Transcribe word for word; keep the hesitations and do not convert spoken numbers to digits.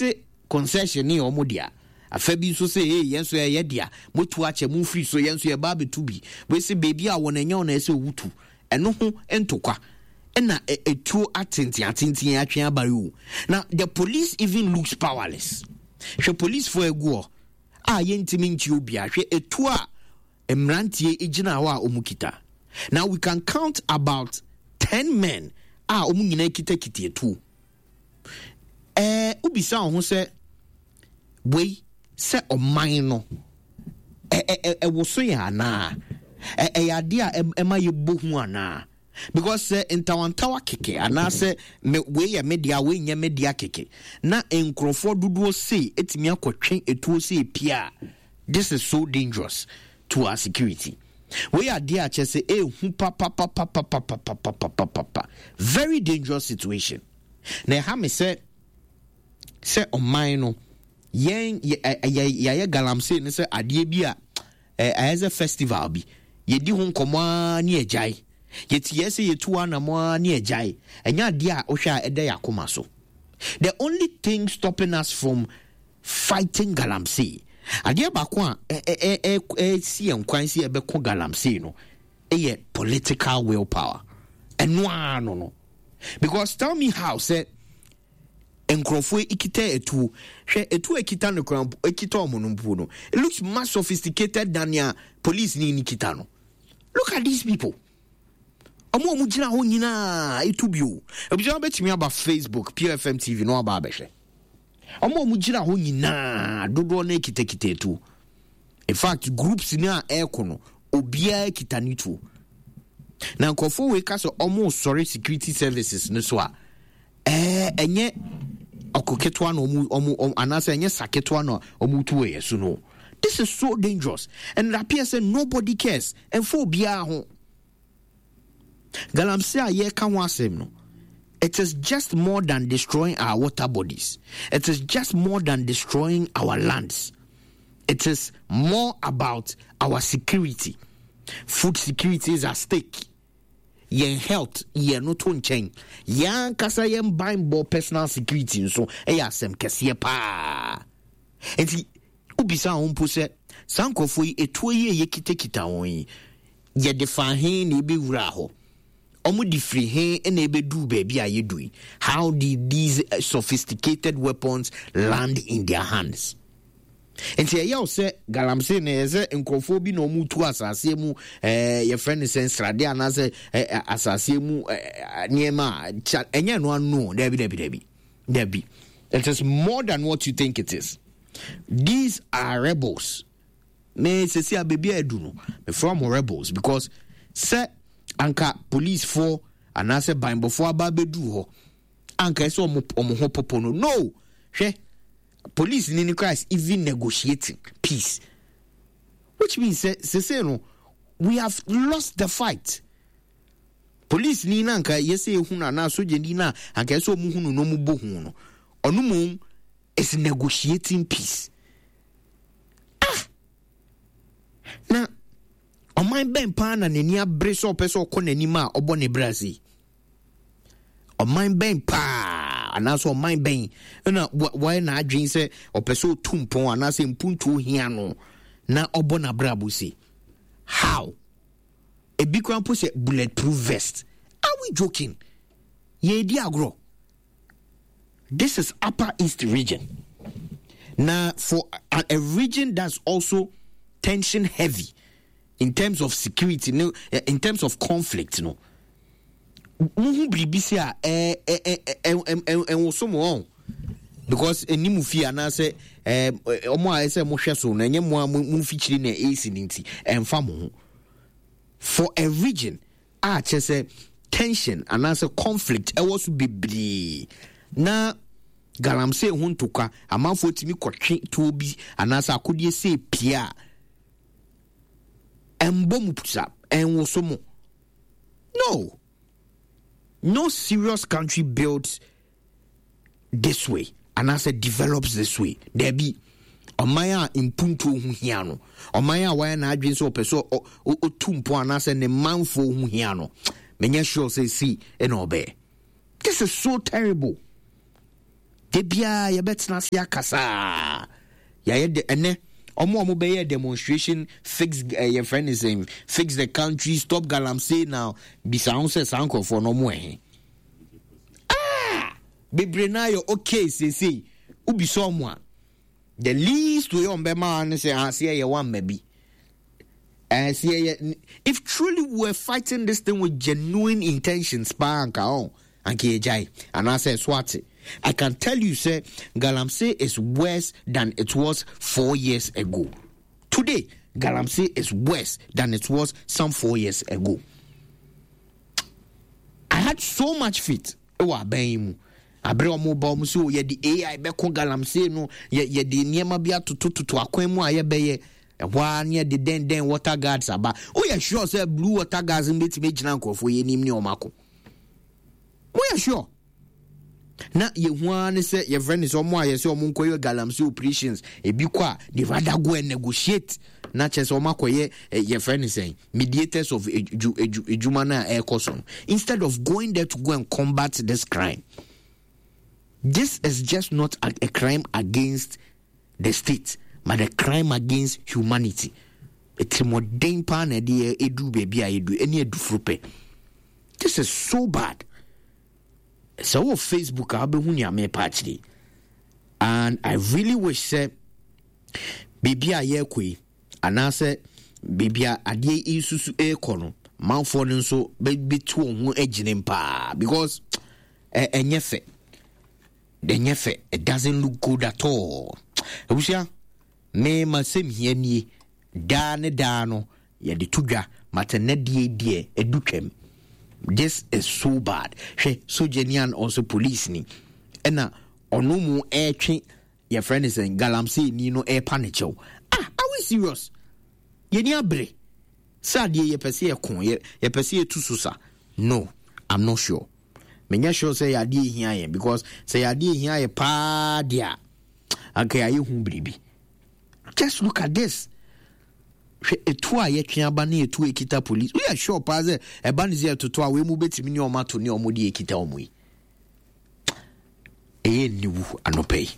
se concession ne yɛ ɔmo dea, afa bi nso sɛ ee, yɛn nso yɛyɛ dea, motu akyɛ mo mfiri so, yɛn nso yɛba abɛtu bi. Wei sɛ beebi a wɔn ɛnyɛ wɔn ɛsɛ owutu ɛno ho ntokwa ɛna etuo atenten atenten atwe aba yi o. Na the police even looks powerless. Hwɛ, policefoɔ egu hɔ a yɛntumi nkyi obiara. Hwɛ etuo a mmeranteɛ gyina hɔ a wɔn kita. Now we can count about ten men a wɔn nyinaa kitakita etuo. Ɛɛ wobisa wɔn ho sɛ wei sɛ ɔman no ɛ ɛ ɛwɔ so yɛ anaa ɛ ɛyɛ adeɛ a ɛma yɛbɔ hu anaa? Because sɛ ntawantawa kɛkɛ anaasɛ me wei yɛ me dea, wei nyɛ me dea kɛkɛ na nkurɔfoɔ dodoɔ sei etumi akɔtwe etuo sei pia, this is so dangerous to our security. Wei adeɛ a kyerɛ sɛ ehu papapapapapapapapapa, very dangerous situation. Na ɛha me sɛ sɛ ɔman no yɛn yɛ yɛayɛ galamsey ne sɛ adeɛ bi a ɛyɛ sɛ festival bi, yɛdi ho nkɔmɔ ara ne agyae, yɛti yɛ sɛ yɛtu anamɔ ara ne agyae. Ɛnyɛ adeɛ a wohwɛ a ɛda yɛ akoma so. The only thing stopping us from fighting galamsey, adeɛ baako a ɛsi yɛn kwan sɛ yɛbɛko galamsey no, ɛyɛ political will power. Ɛno ara no no because tell me how sɛ nkurɔfoɔ ekita etuo. Hwɛ etuo ekita no kora, ekita ɔmo no mpo no, it looks much sophisticated than nea police ni ni kita no. Look at these people, ɔmo a ɔmo gyina hɔ nyinaa etu bi o. Ebusua, bɛtumi aba Facebook, Pure F M T V na waba abɛhwɛ. Ɔmo a ɔmo gyina hɔ nyinaa dodoɔ no ekitakita etuo. In fact, groups ni a ɛɛko no, obiara kita ne tuo. Na nkurɔfoɔ wei ka sɛ ɔmo sɔre security services no so a, ɛɛ ɛnyɛ ɔko ketewa na ɔmo ɔmo anaasɛ ɛnyɛ sa ketewa na ɔmo tu wɔ yɛ so no. This is so dangerous and it appears say nobody cares. Ɛnfo obiara ho. Galamsey a yɛreka ho asɛm no, it is just more than destroying our water bodies. It is just more than destroying our lands. It is more about our security. Food security is at stake. Yɛn health yɛn no to nkyɛn, yɛn ankasa yɛn banbɔ, personal security nso ɛyɛ asɛm kɛseɛ paa. Nti wobisa wɔn mpo sɛ saa nkurɔfoɔ yi, etuo yi a yɛkitakita wɔn yi, yɛde fa he na ebɛwura hɔ? Wɔn de firi he na ebɛduru baabi a yɛdu yi? How did these sophisticated weapons land in their hands? Nti ɛyɛ wo sɛ galamsey no ɛyɛ sɛ nkurɔfoɔ bi na wɔn tu asaseɛ mu, ɛɛ yɛfrɛ no sɛ nsradeɛ anaasɛ ɛɛ asaseɛ mu ɛɛ nneɛma a kya, ɛnyɛ no ano. Dabi, dabi, dabi, dabi, it is more than what you think it is. These are rebels. Me sisi a beebi a edu no, mefrɛ wɔn rebels because sɛ anka policefoɔ anaasɛ banbɔfoɔ aba abɛduru hɔ, anka ɛsɛ wɔn wɔn ho popo no. No, hwɛ, police ni ni christ even negotiating peace, which means sɛ sese no we have lost the fight. Police ni na anka yɛsɛ ehu no anaa soja ni na anka ɛsɛ ɔmo hu no na ɔmo bɔ hu no, ɔno mu is negotiating peace. Ah, na ɔman bɛn paa na n'ani abere sɛ ɔpɛ sɛ ɔkɔ n'anim a ɔbɔ ne bra se? Ɔman bɛn paa anaasɛ ɔman bɛn na wɔayɛ n'adwene sɛ ɔpɛ sɛ ɔtu mpɔn anaasɛ mpuntuo hia no na ɔbɔ n'abrabɔ se? How ebi kora mpo sɛ bulletproof vest? Are we joking? Yɛredi agorɔ? This is Upper East Region. Na for a, a region that's also tension heavy in terms of security no, in terms of conflict no, muhu biribi si a ɛnwoso mo ɔn because ɛni fie anaasɛ ɔmo a ɛsɛ mohwɛ so no, ɛnyɛ mo a mo mfikyiri na ɛsi ne nti ɛmfa mo ho. For a region a kyerɛ sɛ tension anaasɛ conflict ɛwɔ so bebree na galamsey ho ntokwa, amanfoɔ tumi kɔtwe tuo bi anaasɛ akodeɛ sɛ pie a ɛmbɔ mu pusa, ɛnwoso mo no. No serious country builds this way anaasɛ develops this way. Daabi, ɔman a mpuntuo ho hia no, ɔman a wayɛ n'adwene sɛ ɔpɛ sɛ ɔtu mpɔn anaasɛ ne manfoɔ ho hia no, menyɛ sure sɛ si ɛna ɔbɛyɛ. This is so terrible. Da biara yɛbɛtena ase akasa. Yɛayɛ de ɛnɛ ɔmo a ɔmo bɛyɛ demonstration, fix eh, yɛfrɛ ne sɛn, fix the country, stop galamsey now. Bisa ho sɛ saa nkurɔfoɔ no ɔmo ɛhe? Ah! Bebree naa yɛ okay seesei. Wobisa ɔmo a, the least way ɔmo bɛma ne sɛ aseɛ yɛ wamma bi. Ɛsɛ yɛ, if truly we were fighting this thing with genuine intentions paa, anka ɔn anka yɛgyae anaasɛ ɛso ate. I can tell you sɛ galamsey is worse than it was four years ago. Today galamsey is worse than it was some four years ago. I had so much faith ɛwɔ aban yi mu abere ɔmo ba ɔmo sɛ yɛde A I bɛko galamsey no, yɛ yɛde nneɛma bi atotototo akwan mu a yɛbɛyɛ ɛhɔ ara ne yɛde dɛndɛn water guards aba. Woyɛ sure sɛ blue water guards no bɛtumi agyina nkurɔfoɔ yɛ anim ne ɔmo ako? Woyɛ sure? Na yɛhu ara ne sɛ yɛfrɛ ne sɛ ɔmo a yɛsɛ ɔmo nkɔyɛ galamsey operations, ebi kɔ a, they rather go and negotiate na kyerɛ sɛ ɔmo akɔyɛ yɛfrɛ ne sɛn, mediators of edu edu edwuma no a ɛrekɔ so no, instead of going there to go and combat this crime. This is just not a, a crime against the state, but a crime against humanity. Etirimɔden paa na ɛde edu baabi a edu ɛne adufuru pɛ. This is so bad. Sɛ wɔ Facebook a, wobɛhu nea mepa akyerɛ, and I really wish sɛ biribi a yɛrekɔ yi anaasɛ biribi a adeɛ yi susu ɛrekɔ no, manfoɔ no nso bɛtu wɔn ho agyina paa, because ɛnyɛ fɛ, ɛnyɛ fɛ. It doesn't look good at all. Abusua, me ma sɛm hia nie. Daa ne daa no yɛde to dwa matɛnɛ deɛ deɛ ɛdu twam. This is so bad. Hwɛ, sogyani an ɔnso police ni ɛna ɔno mu ɛretwe yɛfrɛ ne sɛn, galamsey ni no ɛrepa ne kyɛw. Ah, are we serious? Yɛni abere sɛ adeɛ yɛpɛ sɛ yɛko, yɛpɛ sɛ yɛtu so sa? No, I'm not sure. Menyɛ sure sɛ yɛ adeɛ ehia yɛn, because sɛ yɛ adeɛ ehia yɛ paa deɛ a, anka yɛayɛ hu biribi. Just look at this. Hwɛ etu a yɛtwe aba ne etu ekita police. Woyɛ sure paa sɛ ɛba ne sɛ ɛtoto a, wei mu bɛtumi ne ɔmo ato ne ɔmo de ekita ɔmo yi? Ɛyɛ niwu anɔpɛ yi.